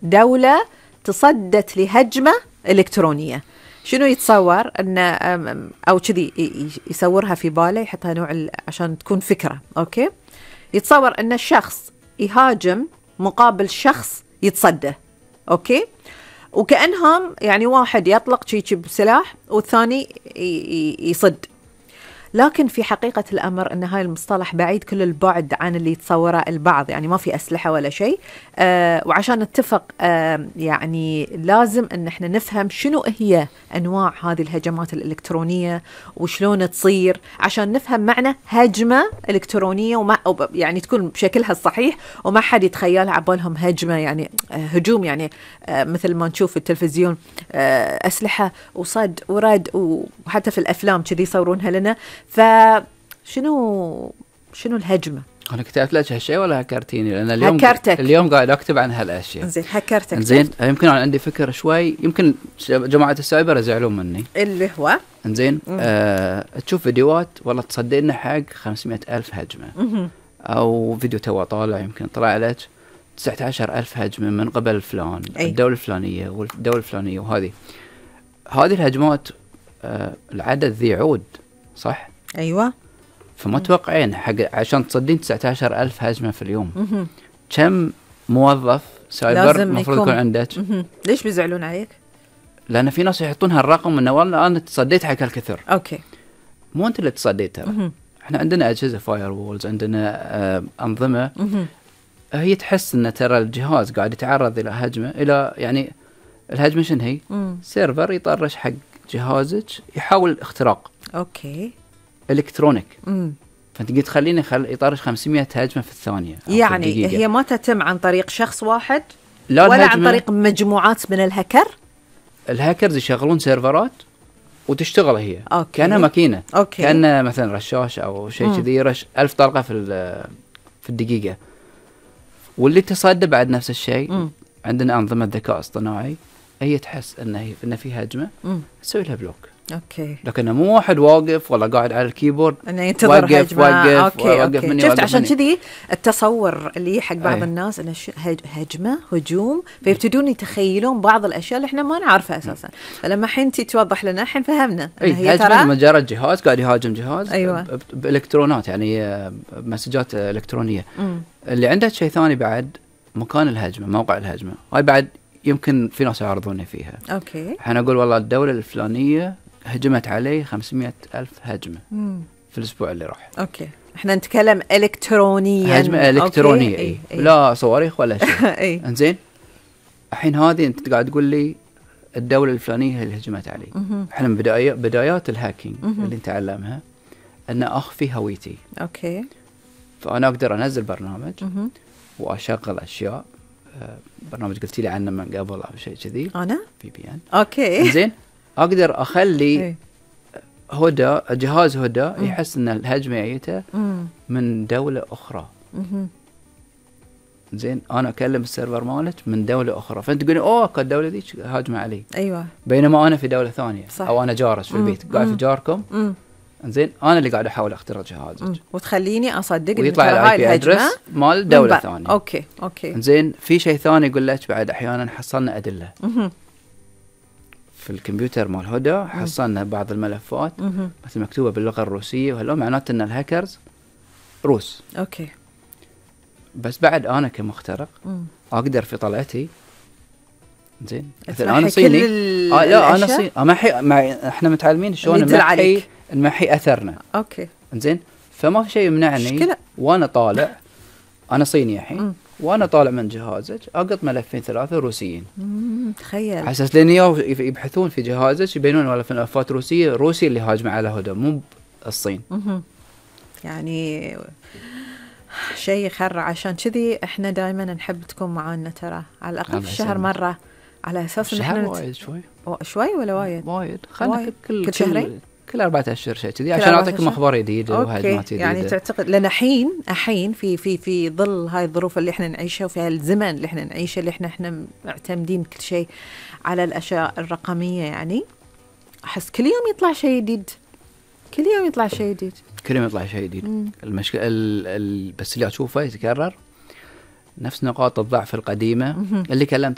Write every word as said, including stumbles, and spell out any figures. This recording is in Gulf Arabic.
دولة تصدت لهجمة إلكترونية، شنو يتصور أن أو كذي يصورها في باله، يحطها نوع عشان تكون فكرة. أوكي، يتصور أن الشخص يهاجم مقابل شخص يتصدى. أوكي، وكأنهم يعني واحد يطلق شيء بسلاح والثاني يصد، لكن في حقيقة الأمر أن هاي المصطلح بعيد كل البعد عن اللي يتصوره البعض، يعني ما في أسلحة ولا شيء. آه وعشان نتفق آه يعني لازم أن احنا نفهم شنو هي أنواع هذه الهجمات الإلكترونية وشلون تصير، عشان نفهم معنى هجمة إلكترونية وما يعني تكون بشكلها الصحيح، وما حد يتخيلها عبالهم هجمة يعني آه هجوم، يعني آه مثل ما نشوف في التلفزيون آه أسلحة وصد ورد، وحتى في الأفلام كذي يصورونها لنا. فشنو شنو الهجمة؟ أنا كتبت لك هالشيء ولا هكرتيني؟ لأن اليوم هكرتك. اليوم قاعد أكتب عن هالأشياء. زين هكرتك. زين يمكن أنا عندي فكرة شوي، يمكن جماعة السايبر يزعلون مني. اللي هو زين آه تشوف فيديوهات والله تصدقنا حق خمسمائة ألف هجمة، مم. أو فيديو تو طالع يمكن طلع لك تسعة عشر ألف هجمة من قبل فلان، أي. الدولة الفلانية والدولة الفلانية، وهذه هذه الهجمات آه العدد ذي يعود صح؟ أيوة. فما توقعين حق عشان تصدين تسعة عشر ألف هجمة في اليوم. مم. كم موظف سايبر المفروض يكون عندك؟ مم. ليش بيزعلون عليك؟ لأن في ناس يحطون هالرقم إنه والله أنا تصديت حق هالكثر. أوكي. مو أنت اللي تصديت ترى. مم. إحنا عندنا أجهزة فاير وولز، عندنا آه أنظمة مم. هي تحس إن ترى الجهاز قاعد يتعرض إلى هجمة، إلى يعني الهجمة شنو هي؟ مم. سيرفر يطرش حق جهازك يحاول اختراق. أوكي. إلكترونيك. مم. فأنت قلت خليني خل يطرش خمسمائة هجمة في الثانية. يعني في هي ما تتم عن طريق شخص واحد لا، ولا عن طريق مجموعات من الهكر. الهاكرز يشغلون سيرفرات وتشتغل هي أوكي. كأنها ماكينة، أوكي. كأنها مثلا رشاش أو شيء كذي يرش ألف طلقة في في الدقيقة. واللي تصدى بعد نفس الشيء. مم. عندنا أنظمة ذكاء اصطناعي هي تحس إن هي إن في هجمة تسوي لها بلوك. أوكي. لكن مو واحد واقف ولا قاعد على الكيبورد انه ينتظر وقف هجمة. وقف أوكي. وقف أوكي. مني شفت وقف عشان مني. كذي التصور اللي حق بعض أيه. الناس انه هجمة هجوم، فيبتدون يتخيلون بعض الاشياء اللي احنا ما نعرفها اساسا. فلما حين انت توضح لنا الحين فهمنا أي هي هجمة ترى مجرد جهاز قاعد يهاجم جهاز. أيوة. بالإلكترونات يعني مسجات إلكترونية. مم. اللي عنده شيء ثاني بعد مكان الهجمة، موقع الهجمة، هاي بعد يمكن في ناس يعرضوني فيها. اوكي. احنا نقول والله الدولة الفلانية هجمت عليه خمسمائة ألف هجمة مم. في الأسبوع اللي راح. اوكي، احنا نتكلم الكترونيا. هجمة إلكترونية. أي. أي. لا صواريخ ولا شيء. اي. انزين الحين هذه انت قاعد تقول لي الدولة الفلانية هي اللي هجمت علي. مهم. احنا من بدايات بدايات الهاكينج مهم. اللي نتعلمها ان اخفي هويتي. اوكي. فانا اقدر انزل برنامج مهم. واشغل اشياء. آه، برنامج قلت لي عنه من قبل او شيء كذي، انا في بي ان. اوكي. زين اقدر اخلي إيه. هدى جهاز هدى يحس ان الهجمه جايته مم. من دوله اخرى. مهم. زين انا اكلم السيرفر مالك من دوله اخرى، فانت تقولي اوه كانت الدوله ذيك هاجمه علي، ايوه بينما انا في دوله ثانيه. صح. او انا جالس في البيت قاعد في جاركم. مم. زين انا اللي قاعد احاول اخترق جهازك. مم. وتخليني اصدق ويطلع إن الاي بي هاي ادرس الهجمة مال دوله من ثانيه. اوكي اوكي. زين في شيء ثاني يقول لك بعد احيانا حصلنا ادله. مهم. في الكمبيوتر مال هدى حصلنا بعض الملفات مهم. مثل مكتوبه باللغه الروسيه، وهلا معناته ان الهاكرز روس. اوكي. بس بعد انا كمخترق مم. اقدر في طلعتي زين مثلا تمحي انا صيني. كل آه لا انا الأشياء؟ صيني امحي مع احنا متعلمين شلون اللي يدل نمحي عليك. نمحي اثرنا. اوكي. زين فما في شيء يمنعني مشكلة. وانا طالع انا صيني الحين مم. وانا طالع من جهازك اقط ملفين ثلاثه روسيين. مم. تخيل. على اساس لان يبحثون في جهازك يبينون ولا في ملفات روسيه روسي اللي هاجم على هدى مو الصين. مهم. يعني شيء يخرع. عشان كذي احنا دائما نحب تكون معانا ترى على الاقل في الشهر مره، على اساس ان احنا نت... وايد شوي شوي ولا وايد وايد خلنا وايد. كل كل شهرين كل أربعة أشهر شيء كذي كل عشان أربعة أعطيكم أشهر؟ أخبار جديدة وهجمات جديدة. يعني تعتقد لنا حين الحين في في في ظل هاي الظروف اللي احنا نعيشها وفي هالزمن اللي احنا نعيشه اللي احنا احنا معتمدين كل شيء على الأشياء الرقمية، يعني أحس كل يوم يطلع شيء جديد، كل يوم يطلع شيء جديد، كل يوم يطلع شيء جديد. المشكلة ال ال بس اللي أشوفه يتكرر نفس نقاط الضعف القديمة اللي كلمت